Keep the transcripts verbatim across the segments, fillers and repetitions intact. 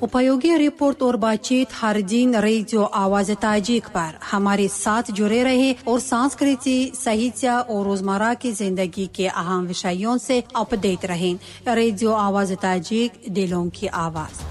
उपयोगी रिपोर्ट और बातचीत हर दिन रेडियो आवाज ताजिक पर हमारे साथ जुड़े रहे और संस्कृति, साहित्य और रोजमर्रा की जिंदगी के अहम विषयों से अपडेट रहें। रेडियो आवाज ताजिक, दिलों की आवाज।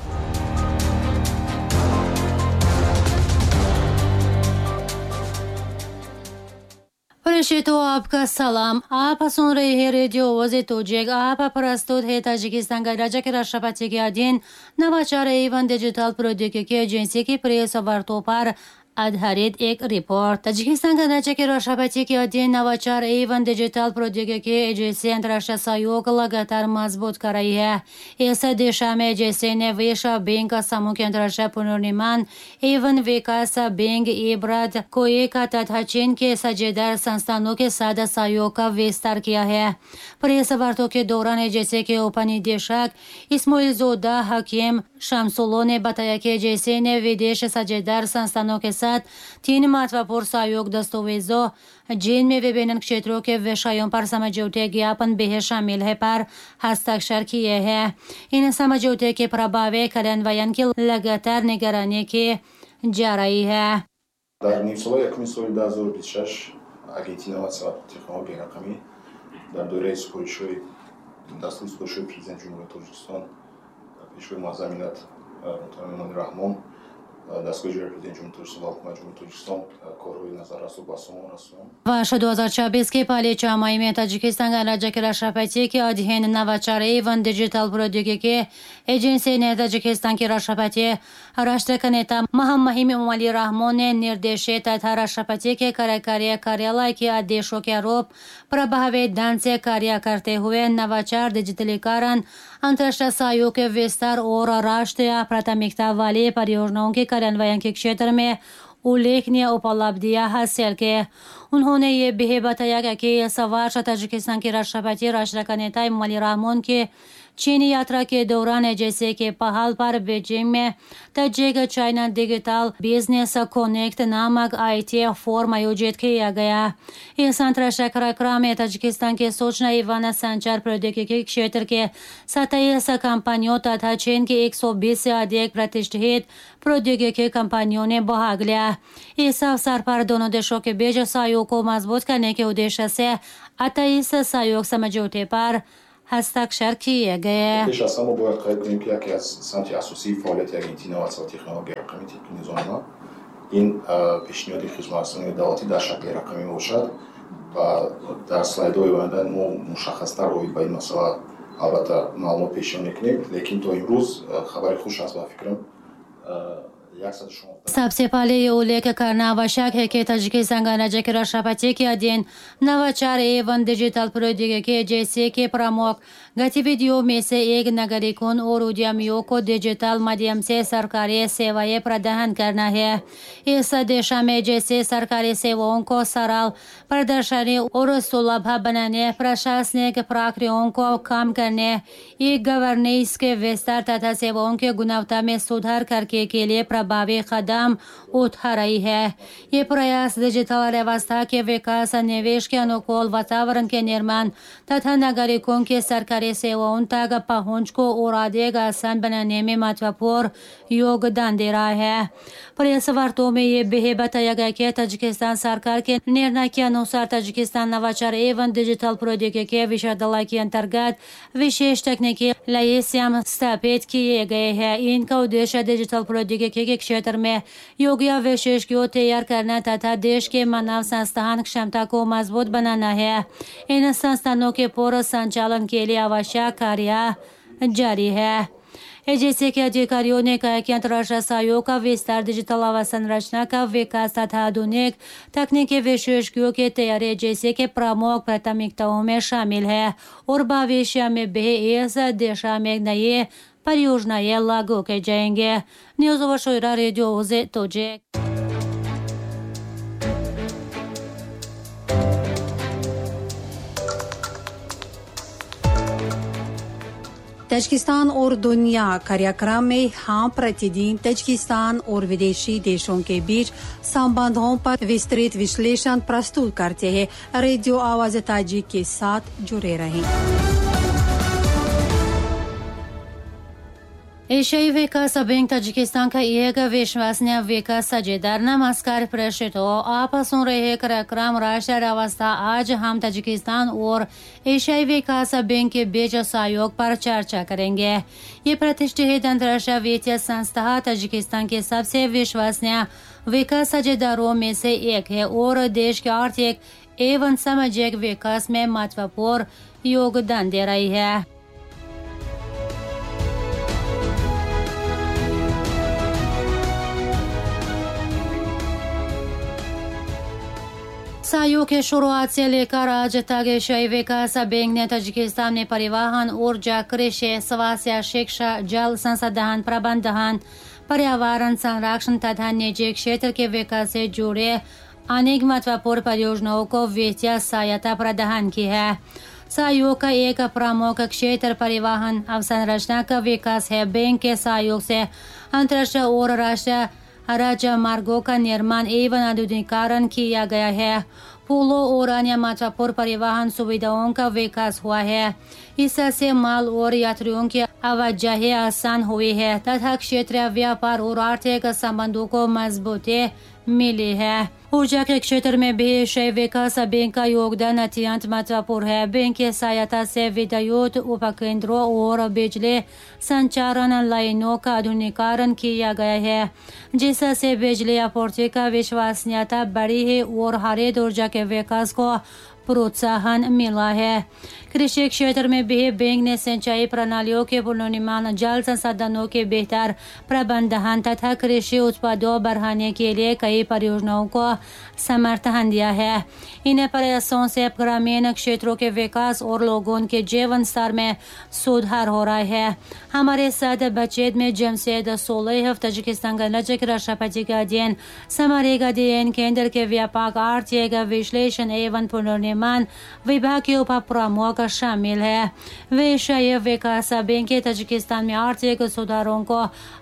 तो आपका सलाम। आप सुन रहे हैं रेडियो आवाज़ तोजिक। आप प्रस्तुत है ताजिकिस्तान का राज्य के राष्ट्रपति के अधीन नवाचार एवं डिजिटल प्रौद्योगिकी एजेंसी की प्रेस वार्ता पर आधारित एक रिपोर्ट। ताजिकिस्तान का राज्य के राष्ट्रपति के अधीन नवाचार एवं डिजिटल प्रौद्योगिकी एजेंसी अंतर्राष्ट्रीय सहयोग लगातार मजबूत कर रही है। इस दिशा में एजेंसी ने विश्व बैंक समूह के अंतर्राष्ट्रीय पुनर्निर्माण एवं विकास बैंक इब्राद कोएका तथा चीन के साझेदार संस्थानों के साथ सहयोग का विस्तार किया है। प्रेस वार्ता के दौरान एजेंसी के उपनिदेशक इस्माइलज़ोदा हकीम शमसुल्लो ने बताया कि एजेंसी ने विदेश साझेदार संस्थानों के साथ तीन महत्वपूर्ण सहयोग दस्तावेजों, जिनमें विभिन्न क्षेत्रों के विषयों पर समझौते ज्ञापन भी शामिल है, पर हस्ताक्षर किए हैं। इन समझौते के प्रभावी कार्यान्वयन की लगातार निगरानी की जा रही है। Дар нимсолаи якуми соли дуҳазору бисту шаш Агентии инноватсия ва технологияи рақамӣ дар доираи супоришҳои дастури супоришҳои Президенти Ҷумҳурии Тоҷикистон, Пешвои Муаззами миллат муҳтарам Эмомалӣ Раҳмон, дастгоҳи иҷроияи Президенти Ҷумҳурии Тоҷикистон ва Ҳукумати Ҷумҳурии Тоҷикистон корҳои назаррасро ба сомон расонд। वर्ष दो हज़ार छब्बीस के पहले छह में ताजिकिस्तान राज्य के राष्ट्रपति के अधीन नवाचार एवं डिजिटल प्रौद्योगिकी एजेंसी ने ताजिकिस्तान के राष्ट्रपति राष्ट्र के नेता महामहिम एमोमाली रहमोन ने निर्देशित तथा राष्ट्रपति के कार्यकारी कार्यालय के आदेशों के आरोप प्रभावी ढंग से कार्य करते हुए नवाचार, डिजिटलीकरण, अंतर्राष्ट्रीय सहयोग के विस्तार और राष्ट्रीय प्राथमिकता वाली परियोजनाओं के कार्यान्वयन के क्षेत्र में उल्लेखनीय उपलब्धियां हासिल की। उन्होंने ये भी बताया कि इस वर्ष ताजिकिस्तान के राष्ट्रपति राष्ट्र का नेता एमोमाली रहमोन की चीन यात्रा के दौरान एजेंसी के पहल पर बीजिंग में Tajik China digital business connect नामक IT forum आयोजित किया गया। इस अंतर्राष्ट्रीय कार्यक्रम में ताजिकिस्तान के सूचना एवं संचार प्रौद्योगिकी क्षेत्र के सत्ताईस कंपनियों तथा चीन के एक सौ बीस से अधिक प्रतिष्ठित प्रौद्योगिकी कंपनियों ने भाग लिया। इस अवसर पर दोनों देशों के बीच सहयोग को मजबूत करने के उद्देश्य से अट्ठाईस सहयोग समझौते पर हस्ताक्षर किए गए। Пеш аз ҳама бояд қайд кунем, ки яке аз самти асосии фаъолияти Агентии инноватсия ва технологияи рақамӣ тибқи низомнома ин пешниҳоди хизматрасонии давлатӣ дар шакли рақамӣ мебошад ва дар слайдҳои оянда мо мушаххастар оид ба ин масъала албатта маълумот пешниҳод мекунем, лекин то имрӯз хабари хуш аст ба фикрам सबसे पहले ये उल्लेख करना आवश्यक है कि ताजिकिस्तान गणराज्य के राष्ट्रपति के अधीन नवाचार एवं डिजिटल प्रौद्योगिकी एजेंसी के प्रमुख गतिविधियों में से एक नागरिकों और उद्यमियों को डिजिटल माध्यम से सरकारी सेवाएं प्रदान करना है। इस दिशा में जैसे सरकारी सेवाओं को सरल, प्रदर्शनी और सुलभ बनाने, प्रशासनिक प्रक्रियाओं को कम करने, ई गवर्नेंस के विस्तार तथा सेवाओं की गुणवत्ता में सुधार करने के लिए प्रभावी कदम उठा रही है। ये प्रयास डिजिटल व्यवस्था के विकास, निवेश के अनुकूल वातावरण के निर्माण तथा नागरिकों की सरकारी सेवाओं तक पहुंच को और अधिक आसान बनाने में महत्वपूर्ण योगदान दे रहा है। प्रेस वार्ताओं में ये भी बताया गया कि ताजिकिस्तान सरकार के निर्णय के अनुसार ताजिकिस्तान नवाचार एवं डिजिटल प्रौद्योगिकी विश्वविद्यालय के अंतर्गत विशेष तकनीकी लाइसियम स्थापित किए गए हैं। इनका उद्देश्य डिजिटल प्रौद्योगिकी के क्षेत्र में योग्य विशेषज्ञों तैयार करना तथा देश के मानव संस्थान क्षमता को मजबूत बनाना है। इन संस्थानों के पूर्ण संचालन के लिए आवश्यक कार्य जारी है। एजेंसी के अधिकारियों ने कहा कि अंतर्राष्ट्रीय सहयोग का विस्तार, डिजिटल अवसंरचना का विकास तथा आधुनिक तकनीकी विशेषज्ञों की तैयारी एजेंसी के प्रमुख प्राथमिकताओं में शामिल है और भविष्य में भी इस दिशा में नई परियोजनाएं लागू की जाएंगे। न्यूज़ ओवर रेडियो तोजिक। ताजिकिस्तान और दुनिया कार्यक्रम में हम प्रतिदिन ताजिकिस्तान और विदेशी देशों के बीच संबंधों पर विस्तृत विश्लेषण प्रस्तुत करते हैं। रेडियो आवाज ताजिक के साथ जुड़े रहें। एशियाई विकास बैंक ताजिकिस्तान का एक विश्वसनीय विकास साझेदार। नमस्कार प्रेक्षित हो, आप सुन रहे कार्यक्रम राष्ट्रीय अवस्था। आज हम ताजिकिस्तान और एशियाई विकास बैंक के बीच सहयोग पर चर्चा करेंगे। ये प्रतिष्ठित अंतर्राष्ट्रीय वित्तीय संस्था ताजिकिस्तान के सबसे विश्वसनीय विकास साझेदारों में से एक है और देश के आर्थिक एवं सामाजिक विकास में महत्वपूर्ण योगदान दे रही है। सहयोग के शुरुआत से लेकर आज तक एशियाई विकास बैंक ने ताजिकिस्तान में परिवहन, ऊर्जा, कृषि, स्वास्थ्य, शिक्षा, जल संसाधन प्रबंधन, पर्यावरण संरक्षण तथा निजी क्षेत्र के विकास से जुड़े अनेक महत्वपूर्ण परियोजनाओं को वित्तीय सहायता प्रदान की है। सहयोग का एक प्रमुख क्षेत्र परिवहन अवसंरचना का विकास है। बैंक के सहयोग से अंतर्राष्ट्रीय और राष्ट्रीय राजमार्गों का निर्माण एवं आधुनिकीकरण किया गया है। पुलों और अन्य महत्वपूर्ण परिवहन सुविधाओं का विकास हुआ है। इससे माल और यात्रियों की आवाजाही आसान हुई है तथा क्षेत्रीय व्यापार और आर्थिक संबंधों को मजबूती मिली है। ऊर्जा के क्षेत्र में भी एशियाई विकास बैंक का योगदान अत्यंत महत्वपूर्ण है। बैंक की सहायता से विद्युत उपकेंद्रों और बिजली संचालन लाइनों का आधुनिकीकरण किया गया है, जिससे बिजली आपूर्ति का विश्वसनीयता बढ़ी है और हरित ऊर्जा के विकास को प्रोत्साहन मिला है। कृषि क्षेत्र में भी बैंक ने सिंचाई प्रणालियों के पुनर्निर्माण, जल संसाधनों के बेहतर प्रबंधन तथा कृषि उत्पादों बढ़ाने के लिए कई परियोजनाओं को समर्थन दिया है। इन प्रयासों से ग्रामीण क्षेत्रों के विकास और लोगों के जीवन स्तर में सुधार हो रहा है। हमारे साथ बातचीत में जमशेद सोलेहов ताजिकिस्तान गणराज्य के राष्ट्रपति के अधीन सामरिक अध्ययन केंद्र के व्यापक आर्थिक विश्लेषण एवं पुनर्निर्माण विभाग के उप प्रमुख शामिल है। वे एशियाई विकास बैंक के ताजिकिस्तान में आर्थिक सुधारों को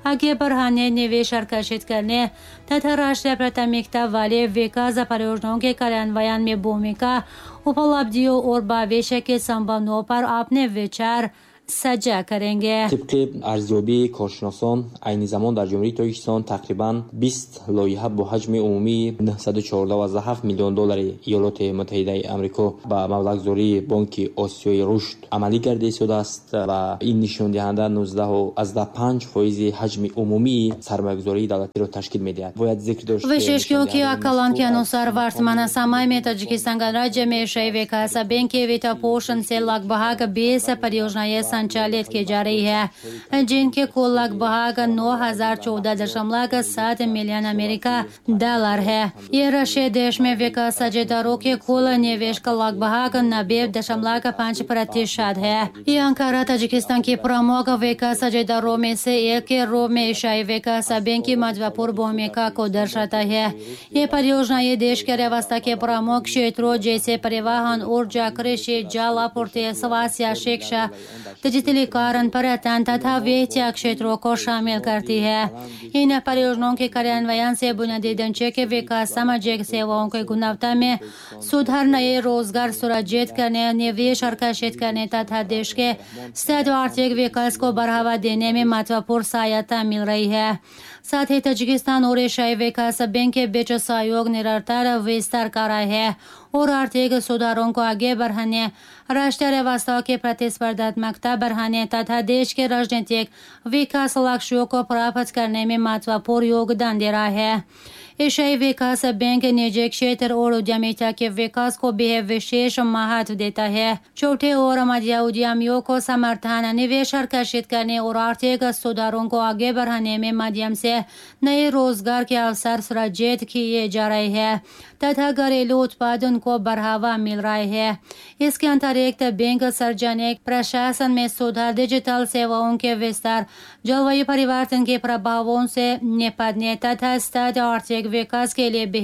आगे बढ़ाने, निवेश आकर्षित करने तथा राष्ट्रीय प्राथमिकता वाले विकास परियोजनाओं के कार्यान्वयन में भूमिका, उपलब्धियों और भविष्य के संभावनाओं पर अपने विचार साझा करेंगे। Тибқи арзёбии коршиносон, айни замон дар Ҷумҳурии Тоҷикистон тақрибан бист лоиҳа бо ҳаҷми умумии нӯҳсаду чордаҳ ҳафт миллион доллари Иёлоти Муттаҳидаи Амрико ба маблағгузории Бонки Осиёи Рушд амалӣ гардида истодааст ва ин нишондиҳанда нуздаҳ панҷ фоизи ҳаҷми умумии сармоягузории давлатиро ташкил медиҳад. Бояд зикр дошт, विशेष क्योंकि आकलन के अनुसार वर्तमान समय में ताजिकिस्तान गणराज्य में एशियाई विकास बैंक के वित्त पोषण से लगभग बीस परियोजनाएं संचालित की जा रही है, जिनके कुल लगभग नौ हजार चौदह दशमलव सात मिलियन अमेरिका डॉलर है। ये राशि देश में विकास साझेदारों के कुल निवेश का लगभग नब्बे दशमलव पाँच प्रतिशत है। ये आंकड़ा ताजिकिस्तान के प्रमुख विकास साझेदारों में से एक के रूप में एशियाई विकास बैंक की महत्वपूर्ण भूमिका को दर्शाता है। ये परियोजना ये देश के व्यवस्था के प्रमुख क्षेत्रों जैसे परिवहन, ऊर्जा, कृषि, जल आपूर्ति, स्वास्थ्य, शिक्षा, डिजिटलीकरण, पर्यटन तथा वित्तीय क्षेत्रों को शामिल करती है। इन परियोजनाओं के कार्यान्वयन से बुनियादी ढांचे के विकास, सामाजिक सेवाओं की गुणवत्ता में सुधार, नए रोजगार सृजित करने, निवेश आकर्षित करने तथा देश के स्थायी आर्थिक विकास को बढ़ावा देने में महत्वपूर्ण सहायता मिल रही है। साथ ही ताजिकिस्तान और एशियाई विकास बैंक के बीच सहयोग निरंतर विस्तार कर रहा है और आर्थिक सुधारों को आगे बढ़ाने, राष्ट्रीय व्यवस्था की प्रतिस्पर्धात्मकता बढ़ाने तथा देश के राजनीतिक विकास लक्ष्यों को प्राप्त करने में महत्वपूर्ण योगदान दे रहा है। एशियाई विकास बैंक निजी क्षेत्र और उद्यमिता के विकास को भी विशेष महत्व देता है। छोटे और मध्य उद्यमियों को समर्थन, निवेश आकर्षित करने और आर्थिक सुधारों को आगे बढ़ाने में माध्यम से नए रोजगार के अवसर सृजित किए जा रहे हैं तथा घरेलू उत्पादन को बढ़ावा मिल रहा है। इसके अतिरिक्त बैंक सार्वजनिक प्रशासन में सुधार, डिजिटल सेवाओं के विस्तार, जलवायु परिवर्तन के प्रभावों से निपटने तथा स्थायी आर्थिक विकास के लिए भी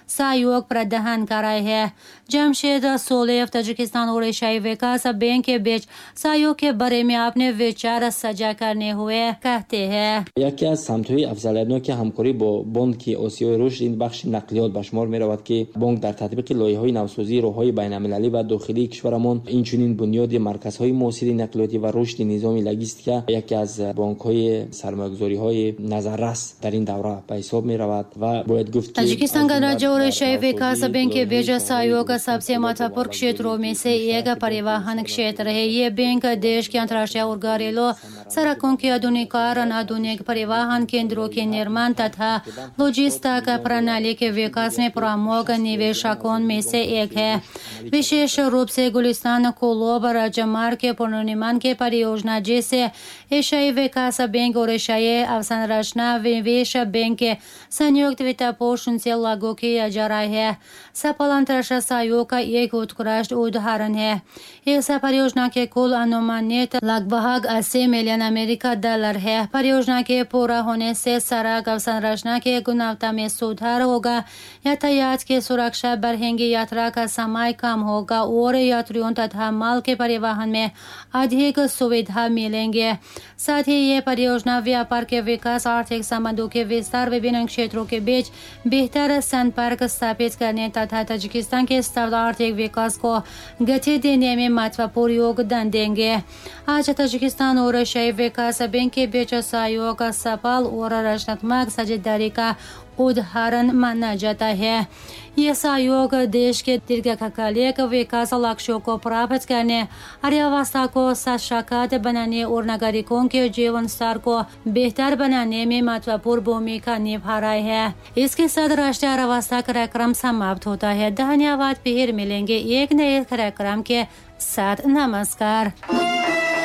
सहयोग प्रदान कर रहे हैं। जमशेद सोलेव ताजिकिस्तान और एशियाई विकास बैंक के बीच सहयोग के बारे में अपने विचार साझा करने हुए कहते हैं। Яке аз самтҳои афзалиятноки ҳамкорӣ бо Бонки Осиёи Рушд ин бахши нақлиёт ба шумор меравад, ки бонк дар татбиқи лоиҳаҳои навсозии роҳҳои байналмилалӣ ва дохилии кишварамон, инчунин бунёди марказҳои муосири нақлиётӣ ва рушди низоми логистика яке аз бонкҳои сармоягузориҳои назаррас дар ин давра ба ҳисоб меравад ва бояд гуфт ки Таджикистан गणराज्य और एशियाई विकास बैंक के बीच सहयोग सबसे महत्वपूर्ण क्षेत्रों में से एक परिवहन क्षेत्र है। ये बैंक देश के अंतर्राष्ट्रीय और घरेलू सड़कों के आधुनिकीकरण, आधुनिक परिवहन केंद्रों के निर्माण तथा लॉजिस्टिक प्रणाली के विकास में प्रमुख निवेशकों में से एक है। विशेष रूप से गुलिस्तान कोलोब राजमार्ग के पुनर्निर्माण के परियोजना जैसे एशियाई विकास बैंक और एशियाई अवसंरचना निवेश बैंक के संयुक्त वित्त पोषण से लागू किया जा रहा है। सफल अंतर्राष्ट्रीय सहयोग का एक उत्कृष्ट उदाहरण है। इस परियोजना के कुल अनुमानित लगभग अस्सी मिलियन अमेरिका डॉलर है। परियोजना के पूरा होने से सड़क अवसंरचना के गुणवत्ता में सुधार होगा, यातायात की सुरक्षा बढ़ेगी, यात्रा का समय कम होगा और यात्रियों तथा माल के परिवहन में अधिक सुविधा मिलेंगे। साथ ही ये परियोजना व्यापार के विकास, आर्थिक संबंधों के विस्तार, विभिन्न क्षेत्रों के बीच बेहतर संपर्क स्थापित करने तथा ताजिकिस्तान के स्थूल आर्थिक विकास को गति देने में महत्वपूर्ण योगदान देंगे। आज ताजिकिस्तान और एशियाई विकास बैंक के बीच सहयोग सफल और रचनात्मक साझेदारी का उदाहरण माना जाता है। यह सहयोग देश के दीर्घकालिक विकास लक्ष्यों को प्राप्त करने, अर्थव्यवस्था को सशक्त बनाने और नागरिकों के जीवन स्तर को बेहतर बनाने में महत्वपूर्ण भूमिका निभा रहा है। इसके साथ राष्ट्रीय अर्थव्यवस्था कार्यक्रम समाप्त होता है। धन्यवाद। फिर मिलेंगे एक नए कार्यक्रम के साथ। नमस्कार।